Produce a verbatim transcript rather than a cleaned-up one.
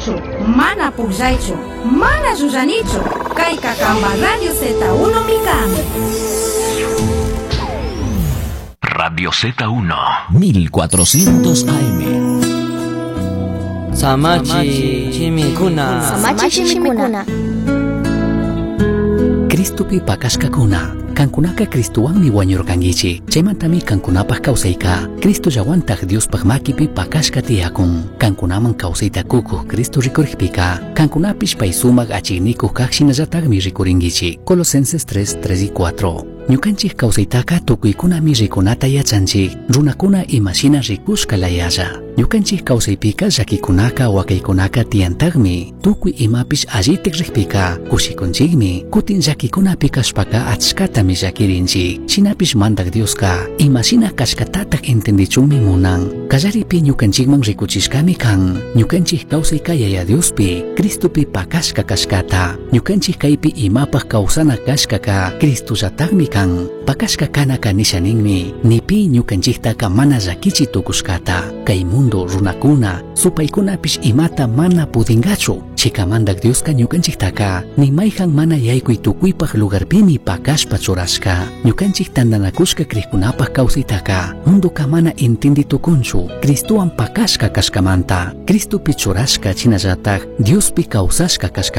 Micunichu, mana pukllaychu, mana llullanichu. Kayka kanpa Radio Z uno mi kan. Radio Z uno, mil cuatrocientos A M. Samachi Chimikuna. Samachi Chimikuna. Cristopi pakashkakuna. Kankunaka Cristowanmi wañurqankichik. Chaymantami kankunapaq kawsayka. Cristo llawantaq Diospaq makipi pakashka tiyakun. Kankunaman kawsayta kukuq Cristo rikurikpika. Kankunapish pay sumaq achiknikuq kaq shinallataqmi rikurinkichik. Colosenses tres, tres y cuatro. Ñukanchik kawsaytaka tukuykunami rikunata yachanchik. Runakuna imashina rikushka layalla. Ñukanchik kawsaypika llakikunaka wakaykunaka tiyantaqmi. Tukuy imapish allitik rikpika kushikunchikmi. Kutin llakikunapi kashpaka achkatami llakirinchik. Shinapish mandak Dioska imashina kashkatataq entendichunmi munan. Kallaripi ñukanchikman rikuchishkami kan. Ñukanchik kawsayka Yaya Diospi, Cristopi pakashka kashkata. Ñukanchik kaypi imapaq kawsana kashkaka Cristollataqmi kan. Pakashka kanaka nisha ninmi. Nipi ñukanchiktaka mana llakichi tukushkata. Kay mundo runakuna, supaykunapish imata mana pudingachu. Chikamandak Dioska ñukanchiktaka ni mayhan mana yaykuy tukuypaq lugarpimi pakashpa churashka. Ñukanchik tantanakushka kriykunapaq kawsaytaka mundoka mana entindi tukunchu. Cristowan pakashka kashkamanta, Cristopi churashka chinallatak Diospi kawsashka kashkamanta.